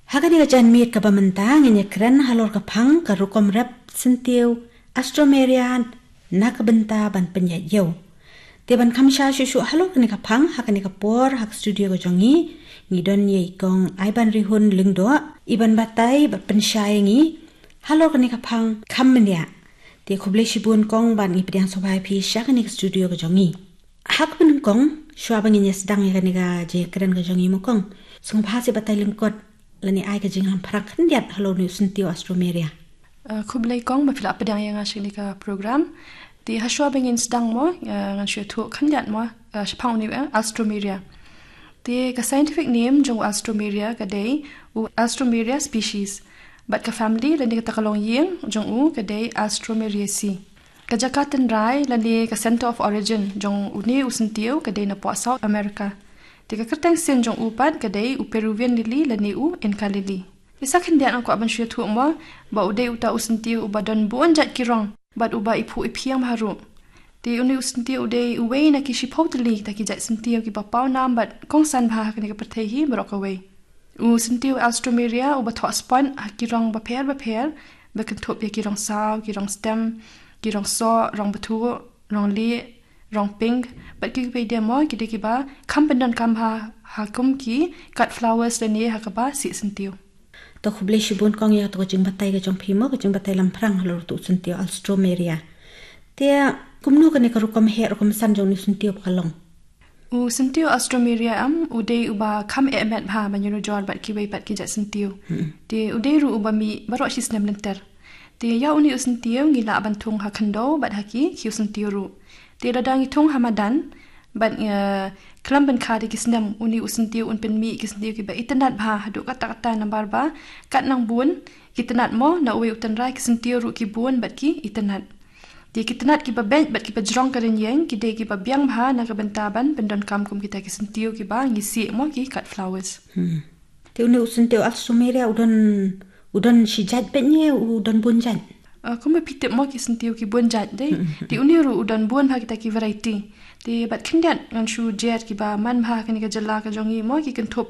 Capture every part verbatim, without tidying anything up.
Ha kane ka janmiet kaba mynta ngin ïa kren halor ka phang ka rukom rep syntiew Alstroemeria na ka bynta ban pynïaid ïew. Te ban kham sha shuh shuh halor kane ka phang ha kane ka por ha ka studio ka jong ngi, ngi don ïa i kong Aiban Rihun Lyngdoh, i ban batai bad pynshai ïa ngi halor kane ka phang kham bniah. Te khublei shibun kong bad ngi pdiang sngewbha ïa phi sha kane ka studio ka jong ngi. Ha kaba nyngkong, shuwa ba ngin ïa sdang ïa kane ka jingkren ka jong ngi mo kong, sngewbha seh batai lyngkot lane ai ka jinglamphrang khyndiat halor une u syntiew Alstroemeria. Uh, khublei kong ba phi la pdiang ïa nga sha kane ka program. Te ha shuwa ba ngin sdang mo, uh, ngan shu ïathuh khyndiat mo, uh, shaphang une u, eh, Alstroemeria. Te ka scientific name jong u Alstroemeria ka dei u Alstroemeria species. Bad ka family lane kata ka longïing jong u ka dei Alstroemeriaceae. Ka jaka tynrai lane ka center of origin jong une u syntiew ka dei napoh South America. Te ka kyrteng sien jong u pat ka dei u Peruvian lily lane u Inca lily. Te sa khyndiat nga kwah ban shu ïathuh mo ba u dei uta u syntiew uba don bun jait ki rong bad uba iphuh iphieng bha ruh. Te une u syntiew u dei uwei na ki shiphew tylli kita ki jait syntiew kiba paw nam bad kongsan bha ha kane ka pyrthei hi baroh kawei. U syntiew Alstroemeria uba thoh spot ha ki rong bapher bapher, ba kynthup ïa ki rong saw, ki rong stem, ki rong soh, rong bthuh, rong lieh, rong pink, bad kiwei de mo ki dei kiba kham pyndonkam ha, ha kum ki cut flowers lane ha kaba sih syntiew. To khublei shibun kong ïa kato ka jingbatai ka jong phi mo, ka jingbatai lamphrang halor uto u syntiew Alstroemeria. Te kumno kane ka rukom heh rukom san jong une u syntiew ba ka long? U syntiew Alstroemeria em, u dei uba kham eh met bha ban ïanujor bad kiwei pat ki jait syntiew. Hmm. Te u dei ruh uba mih baroh shi snem lynter. Te ïa une u syntiew ngi lah ban thung ha khyndew bad ha ki khiew syntiew ruh. Te lada ngi thung ha madan bad, eh, khlem pynkha da ki snem, une u syntiew un pynmih ki syntiew kiba itynnad bha haduh katta katta namar ba kat nang bun ki tynnad mo, na uwei u tynrai ki syntiew ruh ki bun bad ki itynnad. Te ki tynnad kiba beit bad kiba jrong ka rynïeng ki dei kiba biang bha na ka bynta ban pyndonkam kum kita ki syntiew kiba ngi sih mo, ki cut flowers. Hmm. Te une u syntiew Alstroemeria u don, u don shi jait beit ne u don bun jait? Ah, kumba phi tip mo ki syntiew ki bun jait de. Hmm. Te une ruh u don bun bha kita ki variety. Te bad khyndiat ngan shu jer kiba man bha ha kane ka jylla ka jong ngi mo, ki kynthup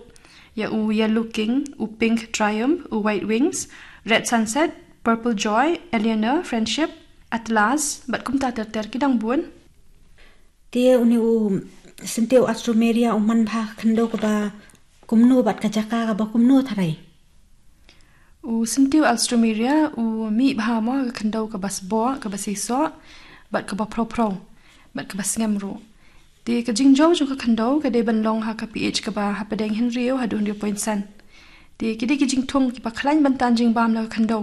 ïa u Yellow King, u Pink Triumph, u White Wings, Red Sunset, Purple Joy, Eleanor, Friendship, Atlas, bad kumta ter ter ki dang bun. Te une u syntiew Alstroemeria u man bha ha ka khyndew kaba kumno bad ka jaka kaba kumno tharai? U syntiew Alstroemeria u mih bha mo ha ka khyndew kaba sboh, kaba seisoh, bad kaba phrew phrew, bad kaba sngem ruh. Te ka jingjaw jong ka khyndew ka dei ban long ha ka pH kaba hapdeng hynriew haduh hynriew point san. Te ki dei ki jingthung kiba khlaiñ ban tan jingbam na ka khyndew.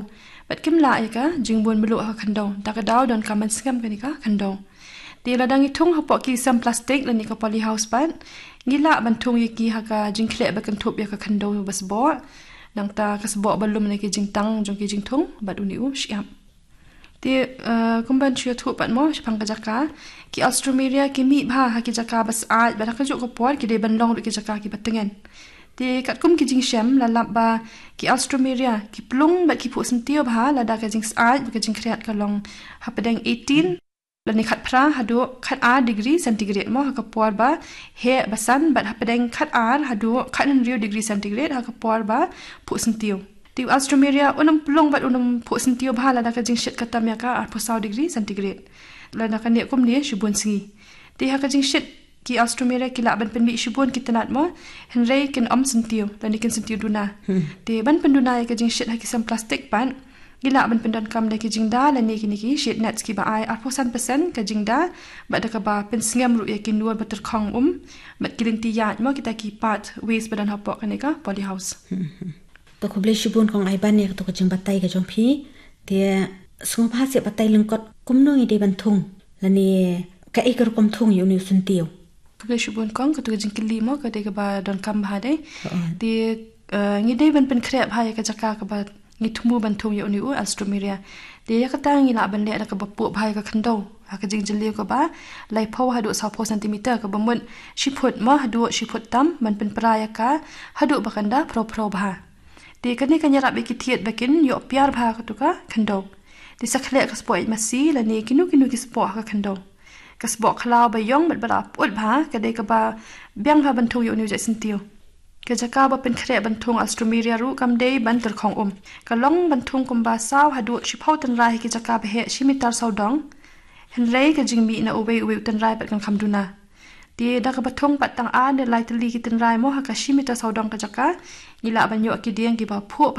Bad kim lah ïa ka jingbun mluh ha ka khyndew. Da ka daw donkam ban sngem kane ka khyndew. Te lada ngi thung hapoh ki sem plastik lane ka polyhouse pat, ngi lah ban thung ïa ki ha ka jingkhleh ba kynthup ïa ka khyndew ba sboh. Nangta ka sboh ba lum na ki jingtang jong ki jingthung bad une u shyiap. Te, eh, kumban shu ïathuh pat mo shaphang ka jaka. Ki Alstroemeria ki mih bha ha ki jaka ba syaid bad ha kajuh ka por ki dei ban long ruh ki jaka kiba tngen. Te katkum ki jingshem la lap ba ki Alstroemeria ki plung bad ki phuh syntiew bha lada ka jingsyaid bad ka jingkhriat ka long hapdeng eighteen lane khatphra haduh khatar degree centigrade mo, ha ka por ba heh ba san, bad hapdeng khatar haduh khathynriew degree centigrade ha ka por ba phuh syntiew. Te u Alstroemeria un ym plung bad un ym phuh syntiew bha lada ka jingshit ka tam ïa ka arphew saw degree centigrade. Lada ka neh kumne shibun sngi. Te ha ka jingshit ki Alstroemeria ki lah ban pynmih shibun ki tnat mo, hynrei kin ym syntiew lane kin syntiew duna. Hmm. Te ban pynduna ïa ka jingshit ha ki sem plastik pat, ngi lah ban pyndonkam da ki jingda lane kine ki shade nets kiba ai arphew san percent ka jingda, bad da kaba pynsngem ruh ïa ki nur ba tyrkhong um, bad ki lynti ïaid mo, kita ki part waste ba don hapoh kane ka polyhouse. Hmm, hmm. To khublei shibun kong Aiban ïa kato ka jingbatai ka jong phi. Te sngewbha seh batai lyngkot kumno ngi dei ban thung lane kaei ka rukom thung ïa une u syntiew. Khublei shibun kong, kato ka jingkylli mo ka dei kaba donkam bha de. Oo. Te, eh, ngi dei ban pynkhreh bha ïa ka jaka kaba ngi thmu ban thung ïa une u Alstroemeria. Te ïa kata ngi lah ban leh da kaba puh bha ïa ka khyndew ha ka jingjylliew kaba laiphew haduh sawphew centimeter, kaba mut shi phut mo haduh shi phut tam, ban pynpra ïa ka haduh ba kan da phrew phrew bha. Te kane kan ïarap ïa ki thied ba kin ïoh piar bha kato ka khyndew. Te sa khleh ka spah ïaid masi lane kino kino ki spah ha ka khyndew. Ka spah khlaw ba ïong bad ba la pyut bha ka dei kaba biang bha ban thung ïa une u jait syntiew. Ka jaka ba pynkhreh ban thung Alstroemeria ruh kam dei ban tyrkhong um. Ka long ban thung kumba saw haduh shiphew tynrai ha ki jaka ba heh shi mitar sawdong. Hynrei ka jingmih na uwei uwei u tynrai pat kan kham duna. Te da kaba thung pat tang ar ne lai tylli ki tynrai mo ha ka shi mitar sawdong ka jaka, ngi lah ban ïoh ki dieng kiba phuh